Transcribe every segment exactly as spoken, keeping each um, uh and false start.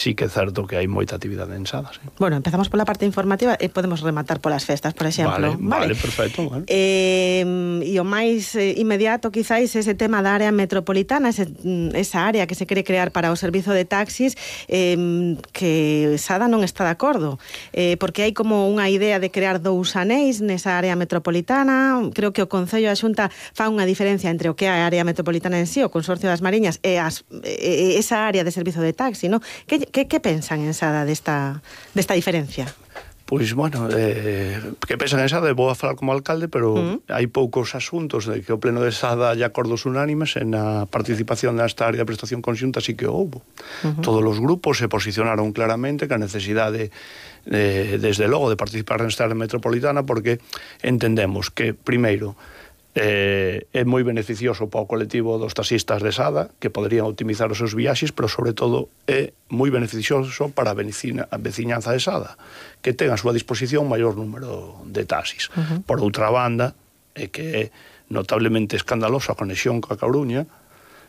sí que é certo que hai moita actividade en Sada, sí. Bueno, empezamos pola parte informativa e podemos rematar polas festas, por exemplo. Vale, vale, vale, perfecto. Bueno. Eh, e o máis eh, inmediato, quizáis, ese tema da área metropolitana, ese, esa área que se quere crear para o servizo de taxis, eh, que Sada non está de acordo, eh, porque hai como unha idea de crear dous anéis nesa área metropolitana. Creo que o Concello e a Xunta fan unha diferencia entre o que é a área metropolitana en sí, o Consorcio das Mariñas, e as, e esa área de servizo de taxi, non? Que Que, que pensan en Sada desta, desta diferencia? Pois, bueno, eh, que pensan en Sada, vou a falar como alcalde, pero uh-huh. hai poucos asuntos de que o pleno de Sada hai acordos unánimes en a participación nesta área de prestación conxunta, sí que houbo. Uh-huh. Todos os grupos se posicionaron claramente que a necesidade, de, desde logo, de participar nesta área metropolitana, porque entendemos que, primeiro, Eh, é moi beneficioso para o colectivo dos taxistas de Sada, que poderían optimizar os seus viaxes, pero sobre todo é moi beneficioso para a, vecina, a veciñanza de Sada, que ten a súa disposición un maior número de taxis. Uh-huh. Por outra banda, é que é notablemente escandalosa a conexión coa Coruña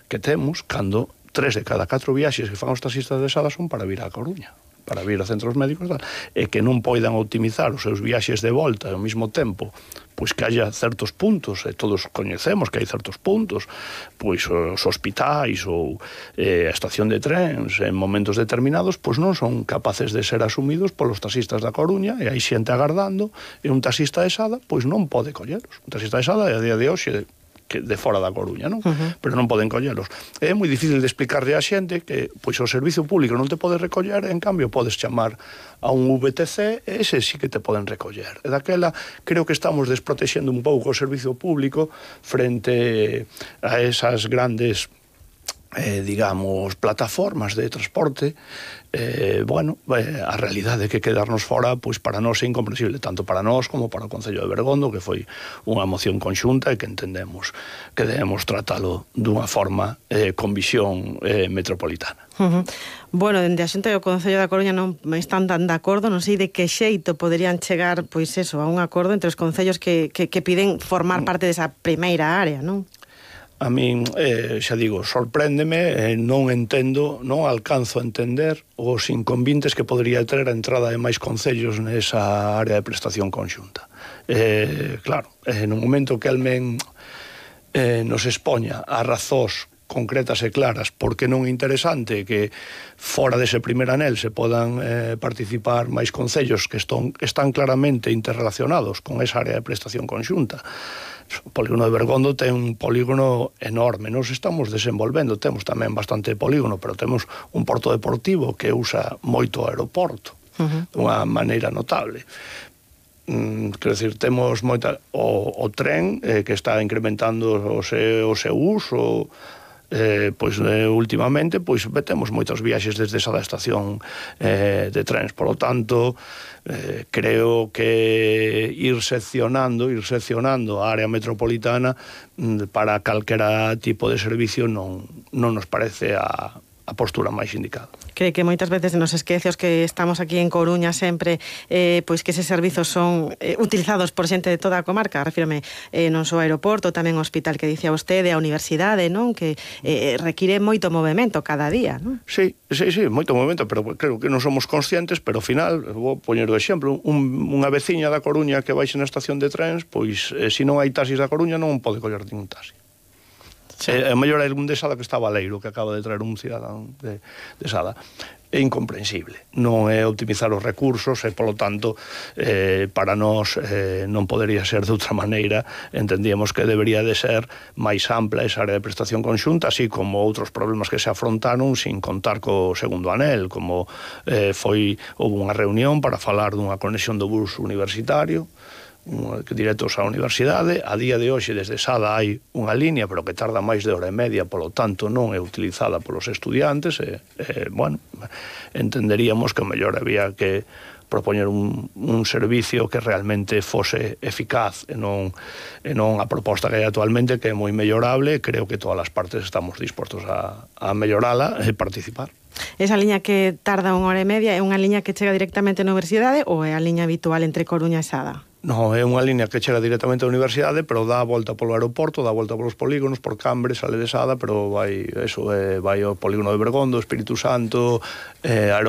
que temos cando tres de cada catro viaxes que fan os taxistas de Sada son para vir á Coruña, para vir a centros médicos, e que non poidan optimizar os seus viaxes de volta ao mesmo tempo, pois que haya certos puntos, e todos coñecemos que hai certos puntos, pois os hospitais ou eh, a estación de trens en momentos determinados, pois non son capaces de ser asumidos polos taxistas da Coruña, e hai xente agardando, e un taxista de Sada pois non pode colleros. Un taxista de Sada, a día de hoxe, que de fora da Coruña, non? Uh-huh. Pero non poden collelos. É moi difícil de explicarle á xente que pois o servizo público non te pode recoller, en cambio podes chamar a un V T C e ese sí que te poden recoller. E daquela creo que estamos desprotexendo un pouco o servizo público frente a esas grandes eh, digamos, plataformas de transporte. Eh, bueno, eh, a realidade é que quedarnos fora, pois para nós é incomprensible, tanto para nós como para o Concello de Bergondo, que foi unha moción conxunta e que entendemos que debemos tratalo dunha forma eh, con visión eh, metropolitana. Uh-huh. Bueno, dende a Xunta e o Concello da Coruña non están tan de acordo, non sei de que xeito poderían chegar, pois eso, a un acordo entre os concellos que, que, que piden formar parte desa primeira área, non? A min, eh, xa digo, sorpréndeme, eh, non entendo, non alcanzo a entender os inconvintes que podría ter a entrada de máis concellos nesa área de prestación conxunta. Eh, claro, eh, no momento que Almen eh, nos expoña a razóns concretas e claras porque non é interesante que fora dese primer anel se podan eh, participar máis concellos que estón, están claramente interrelacionados con esa área de prestación conxunta. O polígono de Bergondo ten un polígono enorme, nos estamos desenvolvendo, temos tamén bastante polígono, pero temos un porto deportivo que usa moito o aeroporto, uh-huh. dunha maneira notable. Mm, quero dicir, temos moita o, o tren eh, que está incrementando o seu, o seu uso. Eh, pois eh, últimamente pois temos moitos viaxes desde esa da estación eh, de trens, por lo tanto eh, creo que ir seccionando ir seccionando a área metropolitana mm, para calquera tipo de servicio non, non nos parece a, a postura máis indicada. Cree que moitas veces nos esquece os que estamos aquí en Coruña sempre, eh, pois que eses servizos son eh, utilizados por xente de toda a comarca, refírome eh, non só ao aeroporto, tamén ao hospital que dicía vostede, a universidade, non? Que eh, require moito movimento cada día, non? Sí, sí, sí, moito movimento, pero creo que non somos conscientes, pero ao final, vou poñer o exemplo, un, unha veciña da Coruña que baixe na estación de trens, pois eh, se non hai taxis da Coruña non pode coller ningún taxi. Sí. É maior é un de Sada que está Baleiro, que acaba de traer un cidadán de, de Sada. É incomprensible. Non é optimizar os recursos e, polo tanto, eh, para nós eh, non podería ser de outra maneira. Entendíamos que debería de ser máis ampla esa área de prestación conxunta, así como outros problemas que se afrontaron sin contar co segundo anel, como eh, foi, houve unha reunión para falar dunha conexión do bus universitario, directos á universidade. A día de hoxe desde Sada hai unha línea, pero que tarda máis de hora e media, polo tanto non é utilizada polos estudiantes e, e bueno, entenderíamos que o mellor había que propoñer un, un servicio que realmente fose eficaz e non, e non a proposta que hai actualmente, que é moi mellorable. Creo que todas as partes estamos dispostos a, a mellorala e participar. Esa liña que tarda unha hora e media é unha liña que chega directamente á universidade ou é a liña habitual entre Coruña e Sada? Non, é unha liña que chega directamente á universidade, pero dá a volta polo aeroporto, dá a volta polos polígonos, por Cambre, sale de Sada, pero vai, eso, eh, vai ao polígono de Bergondo, Espírito Santo, eh,